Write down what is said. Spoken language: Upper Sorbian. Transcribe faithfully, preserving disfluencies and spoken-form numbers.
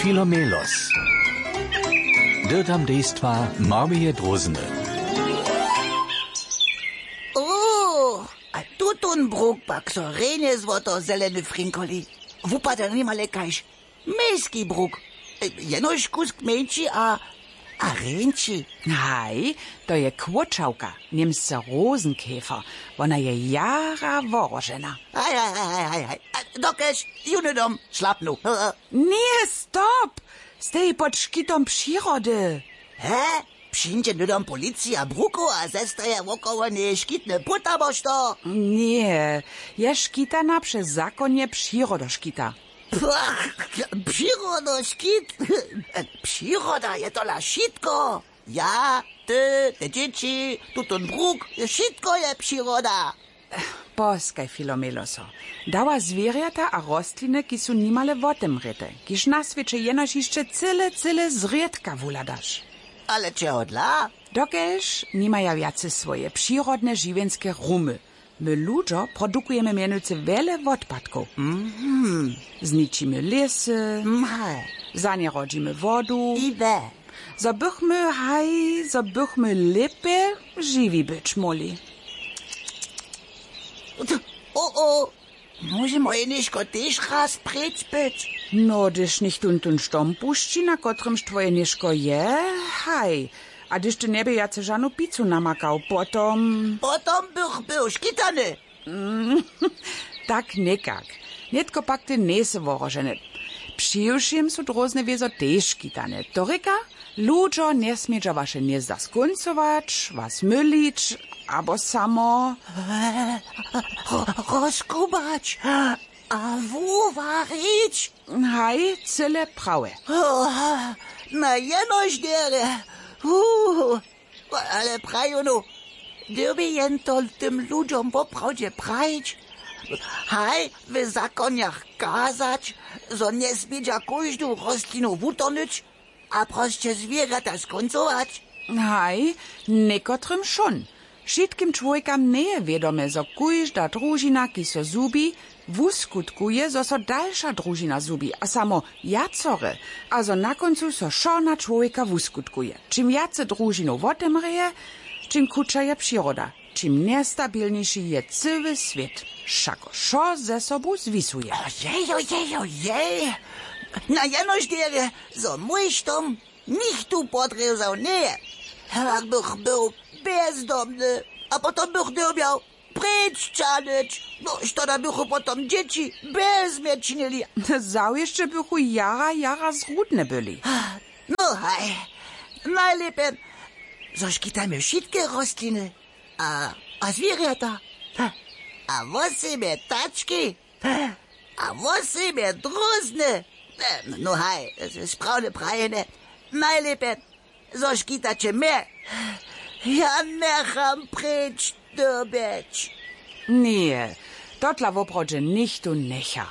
Filomelos. Dyrtam dejstwa Marmije Drózny. O, a tutón bruk pak so rjenje złoto zeleny frinkoli. Wupada nimale kaž mejski bruk. Jenož kusk mjeńši a a rjenči. Haj, to je kłóčałka, němsce rosenkäfer. Wona je jara worožena. Haj haj haj haj haj haj. Dokelž ju hnydom šlapnu. Nie, stop. Steji pod škitom přirody. He? Přińdźe hnydom policija brukow a zestaje wokoło njeje škitny płót abo što? Nie, je škitana přez zakonje přirodoškita. Pach, přirodoškit. Přiroda je tola wšitko. Ja, ty, te dźěći, tutón bruk, wšitko je přiroda. Poskaj, filomeloso. Dała zwěrjata a rostliny, kiž su nimale wotemrěte, kiž na swěće jenož hišće cyle cyle zrědka wuhladaš. Ale čehodla? Dokelž nimaja wjace swoje přirodne žiwjenske rumy. My ludźo produkujemy mjenujcy wjele wotpadkow. Zničimy lěsy, zanjerodźimy wodu, zo bychmy haj zo bychmy lěpje žiwi być móhli. O o, móže moje něžko tež raz preč być? No hdyž nichtón tón štom pušći, na kotrymž twoje něžko je, haj. A hdyž ty njebě wjace žanu picu namakał, potom potom bych był škitany. Tak někak. Nětko pak ty njejsy woroženy. Přiwšěm su drózne wězo tež škitane, to rěka, ludźo njesmědźa waše hnězda skóncować, was mylić, abo samo rozkubać a wuwarić. Haj, cyle prawje. Na jenož derje. Ale praju nu, dyrbje jen to tym ludźom woprawdźe prajić? Haj, w zakonjach kazać, zo njesmědźa kóždu rostlinu wutornyć a prosće zwěrjata skóncować? Haj, někotrym wšón. Wšitkim čłowjekam njeje wědome, zo kóžda družina kiž so zhubi, wuskutkuje zo so dalša družina zhubi a samo wjacore, a zo na kóncu so wšo na čłowjeka wuskutkuje. Čim wjace družinow wotemrěje, čim chutša je přiroda, čim njestabilniši je cyły swět. Wšako wšo ze sobu zwisuje. Ojej ojej ojej. Na jenož derje, zo mój štom nichtó podrězał njeje. Hewak bych był bjezdomny a potom bych dyrbjał preč čahnyć. No što da bychu potom dźěći bjez mje činili? Zawěsće bychu jara jara zrudne byli. No haj, najlěpje zo škitajmy wšitke rostliny a a zwěrjata a wosebje tački. A wosebje drózny. No haj, sprawne prajene. Najlěpje zo škitaće mje. Ja njecham preč dyrbjeć. Ně, totla woprawdźe nichtó njecha.